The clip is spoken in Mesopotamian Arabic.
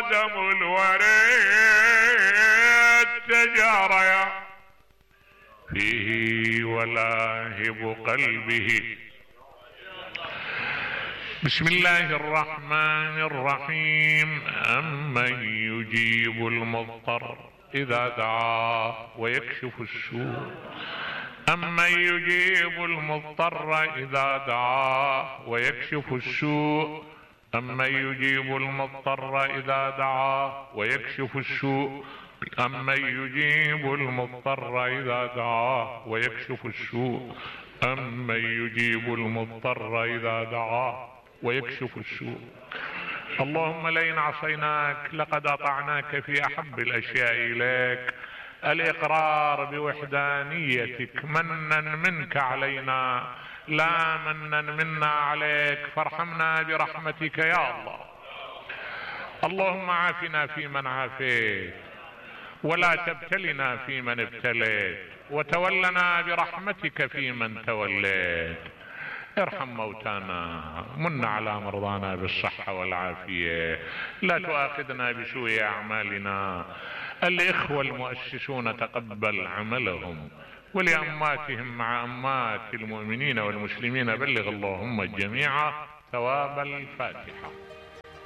خادم الوريد تجاريا فيه ولاهب قلبه. بسم الله الرحمن الرحيم. أمن يجيب المضطر إذا دعاه ويكشف السوء. أمن يجيب المضطر إذا دعاه ويكشف السوء. أمن يجيب المضطر إذا دعاه ويكشف السوء. أمن يجيب المضطر إذا دعاه ويكشف السوء. أمن يجيب المضطر إذا دعاه ويكشف السوء. اللهم لئن عصيناك لقد أطعناك في أحب الأشياء إليك الإقرار بوحدانيتك منا منك علينا لا منا منا عليك، فارحمنا برحمتك يا الله. اللهم عافنا فيمن عافيت ولا تبتلنا فيمن ابتليت، وتولنا برحمتك فيمن توليت. ارحم موتانا، من على مرضانا بالصحة والعافية، لا تؤاخذنا بسوء أعمالنا. الإخوة المؤسسون تقبل عملهم، ولأماتهم مع أمات المؤمنين والمسلمين بلغ اللهم الجميع ثواب الفاتحة.